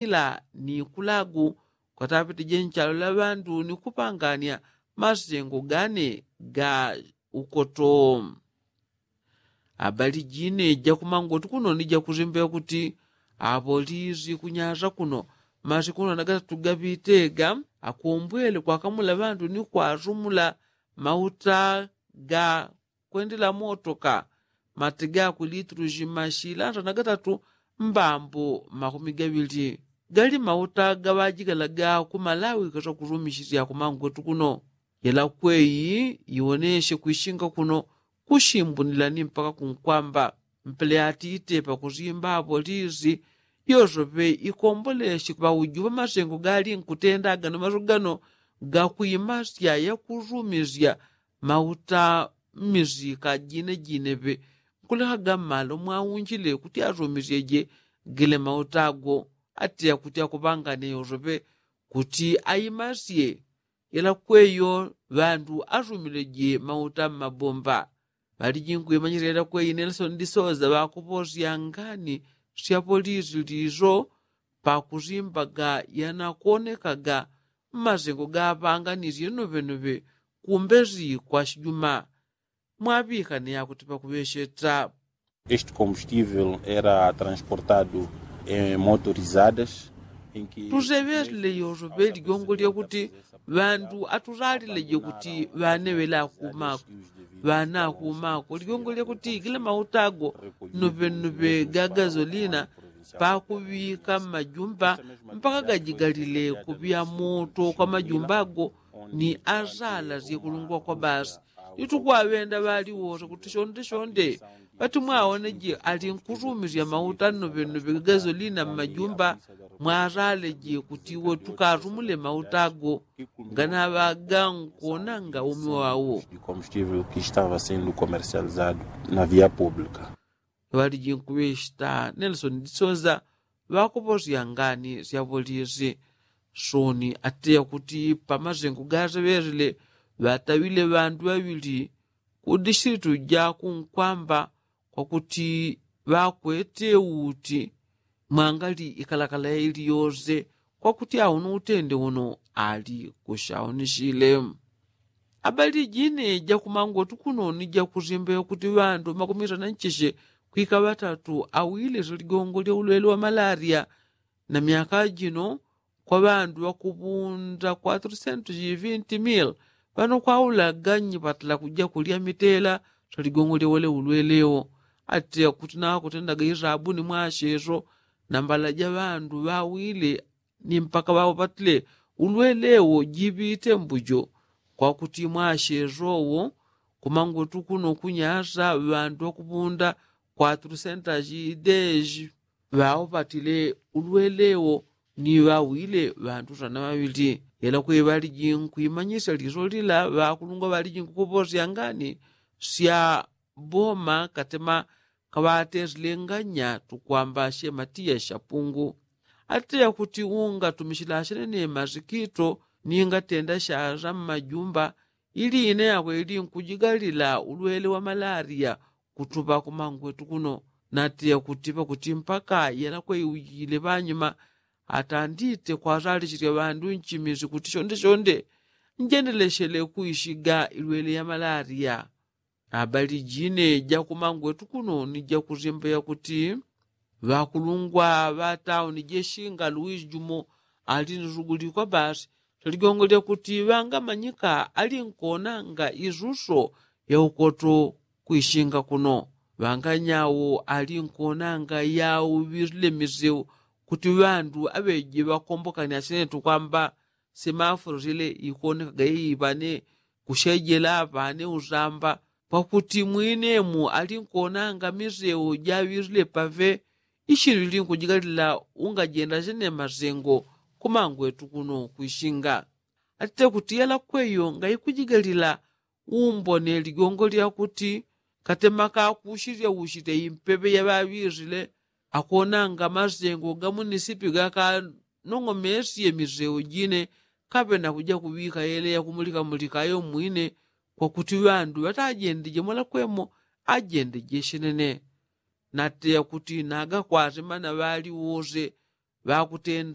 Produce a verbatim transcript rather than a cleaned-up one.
ila ni kulagu kwatapitije nchalo la ŵandu ni kupangania masengo gane ga ukoto. Abali jine jakumangoti kuno ni jakusimbe kuti apolisi kunyasa kuno masiku kuno na gatatu gapite ga akombwele kwakamula ŵandu ni kwasumula mauta ga kwendela motoka mati gakwe litulusi mashila nsana gatatu mbambo makumi gaŵili. Gali mauta gaŵajikala ga ku malawi kasa kusumisisya kumangwetu kuno. Yela kweyi iwonesye kwisinga kuno kusimbunila ni mpaka kunkwamba mpele ati itepa kusimba apolisi yosope ikombolesye ŵauju ŵamasengo gali nkutenda agano maso gano gakwimasya yakusumisya mauta mmisika jine jine ŵe nkulekaga mmalo mwaunjile kuti asumisyeje gile mauta ago. Atiya kuti akuŵangane yosope kuti aimasye yela kweyo ŵandu asumileje mauta mmabomba. Ŵaliji nkwimanyisya yela kweyi nelson disoza ŵakuposya ngani sya polisi liso pakusimbaga yanakonekaga mmasengo gaŵanganisye noŵenoŵe kumbesi kwa sijuma. Mwaŵikane yakuti pakuŵesyeta. Este combustível era transportado em motorizadas em que tuseŵesile yosoŵe ligongo lyakuti ŵandu atusalileje kuti ŵaneŵele akumako ŵana akumako ligongo lyakuti gila mauta ago noŵenoŵe ga gasolina pakuŵika mmajumba mpaka gajigalile kuŵya moto kwa majumba ago ni asala syekulungwa kwa basi. Ni tukwaŵenda ŵaliwose kuti shonde shonde ŵati mwawoneje ali nkusumisya mauta noŵenoŵe ga gasolina mmajumba mwasaleje kuti iwo tukasumule mauta ago nganaŵaga nkonanga umi wawo. De combustível que estava sendo comercializado na via pública. Ŵaliji nkuŵeshita nelson disoza ŵakuposya ngani sya polisi. Soni ateya kuti pamasengo gaseŵesile ŵataŵile ŵandu ŵaŵili ku dishilitu ja kunkwamba kwakuti ŵakwete uti mwangali ikalakala yaili yose kwakuti auno utende uno ali kushaonishile. Abali jine jakumangwetu kuno ni jakusimba yakuti ŵandu makumisana nchishe kwika ŵatatu awile siligongo lya ulwele wa malaria. Na myaka jino kwa ŵandu ŵakuŵunda kwatrusentu jivinti mil ŵanokwaulaga nyipatala kuja kulya mitela siligongo lya wele ulwele wo. Ati akuti nakutendaga isabuni mwasheso na mbala ja ŵandu ŵawile ni mpaka ŵaupatile ulwele wo jiŵite mbujo. Kwakuti mwasheso wo kumangwetu kuno kunyasa ŵandu ŵakuŵunda kwatrusentu jideji ŵaupatile ulwele wo ni ŵawile ŵandu sana ŵaŵili. Yela kweŵaliji nkwimanyisya liso lila ŵakulungwa ŵaliji nkukuposya ngani sya boma katema kaŵatesile nganya tukwamba shematiya shapungu. Ateya kuti ungatumishila shenene masikito ni ngatenda shasa mmajumba ili ine yakwe ili nkujigalila ulwele wa malaria kutuŵa kumangwetu kuno. Nateya kuti pakuti mpaka yela kweiujile ŵanyuma atandite kwasalichilya ŵandu nchimisi kuti shonde shonde njendeleshele kuishiga ilwele ya malaria. Abali jine jakumangwetu kuno ni jakusimba yakuti ŵakulungwa ŵa tauni jeshinga luwisi jumo ali ni suguli kwa basi. Ligongo lyakuti ŵangamanyika ali nkonanga isuso ya ukoto kwishinga kuno. Ŵanganya wo ali nkonanga yauŵisile miseu kuti ŵandu aŵeje ŵakombokane asine tukwamba simafuro sile ikonekaga iiŵane kushejela ŵane usamba. Pakuti mwinemu ali nkonanga miseu jaŵisile paŵe ishili linkujigalila ungajenda sine masengo kumangwetu kuno kwishinga. Atite kuti yela kweyo ngaikujigalila umbone ligongo lyakuti katema kakushilya ushite impepe yaŵaŵisile akonanga masengo ga munisipi gakanong'omesye miseu jine kaŵe nakuja kuŵika yele yakumulikamulika ayo mwine. Kwakuti ŵandu ŵatajendeje mwalakwemo ajendeje shenene. Nateya kuti nagakwase mana ŵaliwose ŵakutenda.